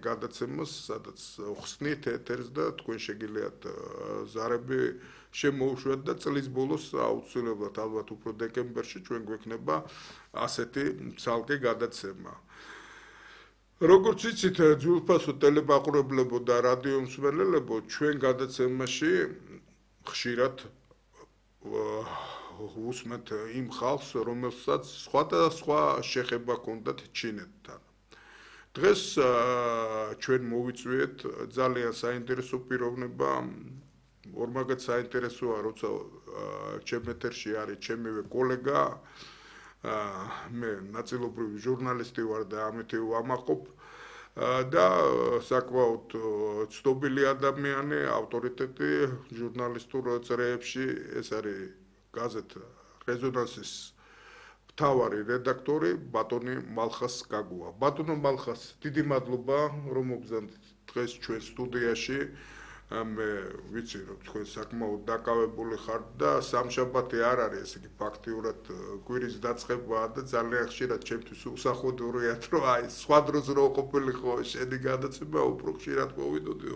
გადაცემას, სადაც ხსნით ეთერს და თქვენ შეგიძლიათ ზარები შემოუშვათ და წლის ბოლოს აუცილებლად ალბათ უფრო დეკემბერში ჩვენ გვექნება ასეთი ცალკე გადაცემა. როგორც იცით, ძვირფასო ტელემაყურებლებო და რადიო მსმენელებო, ჩვენ გადაცემაში ხშირად უსმენთ იმ ხალხს, რომელსაც სხვადასხვა შეხება ჰქონდათ ჩინეთთან. დღეს ჩვენ მოვიწვიეთ ძალიან საინტერესო პიროვნება, ორმაგად საინტერესოა, როცა ჩემ ეთერში არის ჩემივე კოლეგა, მე ნაწილობრივ ჟურნალისტი ვარ და ამით ვამაყობ და საკმაოდ ცნობილი ადამიანი, ავტორიტეტი ჟურნალისტურ წრეებში, ეს არის გაზეთ რეზონანსის მთავარი რედაქტორი ბატონი მალხას გაგუა. ბატონო მალხას, დიდი მადლობა, რომ მოგზავნით დღეს ჩვენ სტუდიაში. მე ვიცი, რომ თქვენ საკმაოდ დაკავებული ხართ და სამშაბათი არ არის, ესე იგი ფაქტიურად კვირის დაწყებაა და ძალიან ხშირად ჩემთვის უსახოდურია, რომ აი სხვა დროს რო ყოფილიყო შენი გადაცემა, უფრო ხშირად მოვიდოდი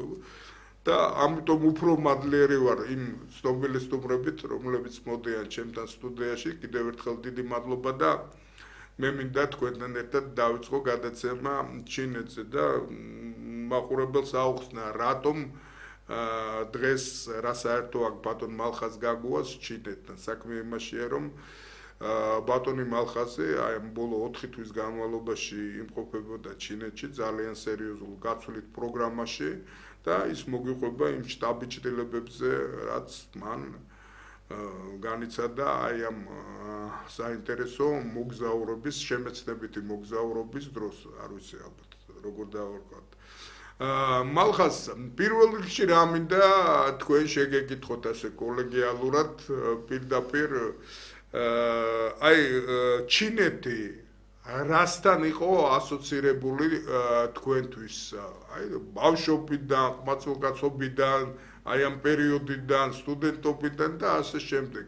და ამიტომ უფრო მადლიერი ვარ იმ ცნობილი სტუმრებით, რომლებიც მოდიან ჩემთან სტუდიაში. კიდევ ერთხელ დიდი მადლობა და მე მინდა თქვენთან ერთად დავიწყო გადაცემა ჩინეთზე და მაყურებელს აუხსნა, რატომ დღეს რა საერთო აქვს ბატონ მალხას გაგუას ჩინეთთან. საქმე იმაშია, რომ ბატონი მალხაზე აი ამ ბოლო 4 თვის განმავლობაში იმყოფებოდა ჩინეთში ძალიან სერიოზულ გაცვლით პროგრამაში და ის მოგიყვება იმ შტაბ-ჭრილებებზე, რაც მან განიცადა აი ამ საინტერესო მოგზაურობის, შემეცნებითი მოგზაურობის დროს, არ ვიცი ალბათ როგორ დავარქვათ. მალხას, პირველ რიგში რა მინდა თქვენ შეგეკითხოთ ასე კოლეგიალურად, პირდაპირ აი ჩინეთი რასთან იყო ასოცირებული თქვენთვის? აი ბავშვობიდან, ყმაწვილკაცობიდან, აი ამ პერიოდიდან, სტუდენტობიდან და ასე შემდეგ.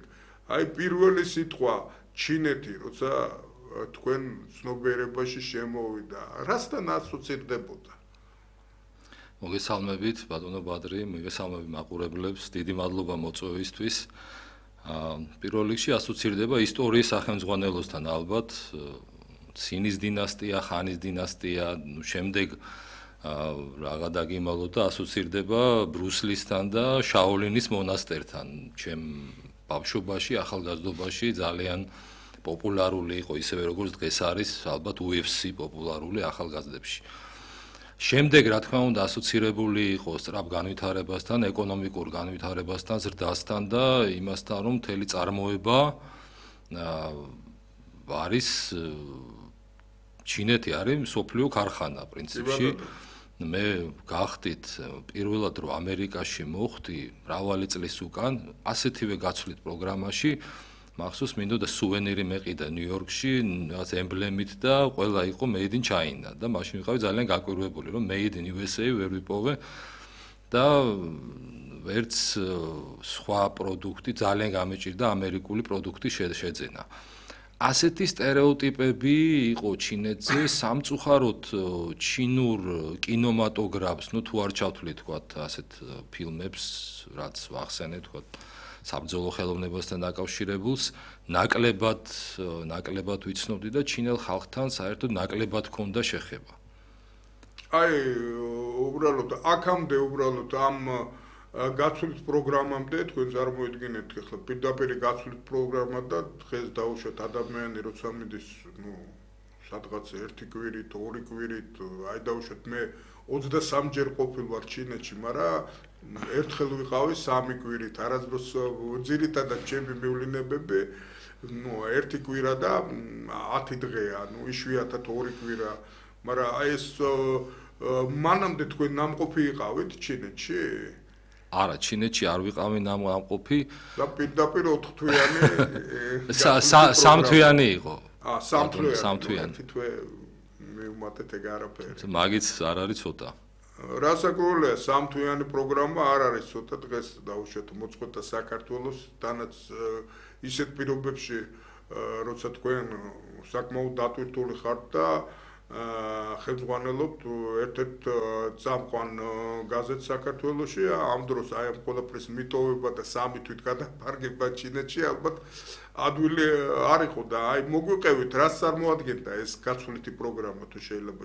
აი პირველი სიტყვა ჩინეთი, როცა თქვენ ცნობიერებაში შემოვიდა, რასთან ასოცირდებოდა? მოგესალმებით, ბატონო ბადრი, მოგესალმები მაყურებლებს, დიდი მადლობა მოწვევისთვის. პირველ რიგში ასოცირდება ისტორიის სახელმძღვანელოსთან ალბათ, ცინის დინასტია, ხანის დინასტია, შემდეგ რაღა დაგიმალო და ასოცირდება ბრუსლისთან და შაოლინის მონასტერთან. ჩემ ბავშვობაში, ახალგაზრდობაში ძალიან პოპულარული იყო, ისევე როგორც დღეს არის ალბათ UFC პოპულარული ახალგაზრდებში. შემდეგ, რა თქმა უნდა, ასოცირებული იყო სწრაფ განვითარებასთან, ეკონომიკურ განვითარებასთან, ზრდასთან და იმასთან, რომ მთელი წარმოება არის ჩინეთი არის მსოფლიო ქარხანა პრინციპში. მე გახდით პირველად რომ ამერიკაში მოხვდი მრავალი წლის უკან, ასეთივე გაცვლით პროგრამაში, მახსოვს მინდოდა სუვენირი მეყიდა ნიუ-იორკში, რაღაც ემბლემით და ყველა იყო made in China და მაშინ ვიყავი ძალიან გაკვირვებული, რომ made in USA ვერ ვიპოვე და ვერც სხვა პროდუქტი ძალიან გამეჭირდა ამერიკული პროდუქტი შეძენა. ასეთი სტერეოტიპები იყო ჩინეთზე, სამწუხაროდ ჩინურ კინემატოგრაფს, ну თუ არ ჩავთვლით თქვათ ასეთ ფილმებს, რაც ვახსენეთ თქვათ საბრძოლო ხელოვნებასთან დაკავშირებულს, ნაკლებად ვიცნობდი და ჩინელ ხალხთან საერთოდ ნაკლებად ჰქონდა შეხება. აი, უბრალოდ აქამდე უბრალოდ ამ გაცვლით პროგრამამდე თქვენ წარმოიდგინეთ, ახლა პირდაპირ გაცვლით პროგრამა და დღეს დაუშვათ ადამიანი, როცა მიდის, ну, სადღაც ერთი კვირით, ორი კვირით, აი დაუშვათ მე 23 ჯერ ყოფილ ვარ ჩინეთში, მაგრამ ერთხელ ვიყავი 3 კვირით, არასდროს ძირითადად ჩემი მივლინებები, ну, ერთი კვირა და 10 დღეა, ну, იშვიათად 2 კვირა, მაგრამ აი ეს მანამდე თქვენ ნამყოფი იყავით ჩინეთში? არა, ჩინეთში არ ვიყავი ნამყოფი. და პირდაპირ 4 თვიანი 3 თვიანი იყო. 3 თვიანი. თითქოს მივუმატეთ ეგ არაფერი. მაგიც არ არის ცოტა. რასაკვირველია, 3 თვიანი პროგრამა არ არის ცოტა, დღეს დაუშვათ მოწყვეტა საქართველოს, თანაც ისეთ პირობებში, როცა თქვენ საკმაოდ დატვირთული ხართ და ხელმძღვანელობთ ერთ-ერთ წამყვან გაზეთს საქართველოში. ამ დროს აი ამ ყველაფრის მიტოვება და სამი თვით გადაფარგება ჩინეთში ალბათ ადვილი არ იყო და აი მოგვიყევით, რაც წარმოადგენდა ეს გაცვლითი პროგრამა თუ შეიძლება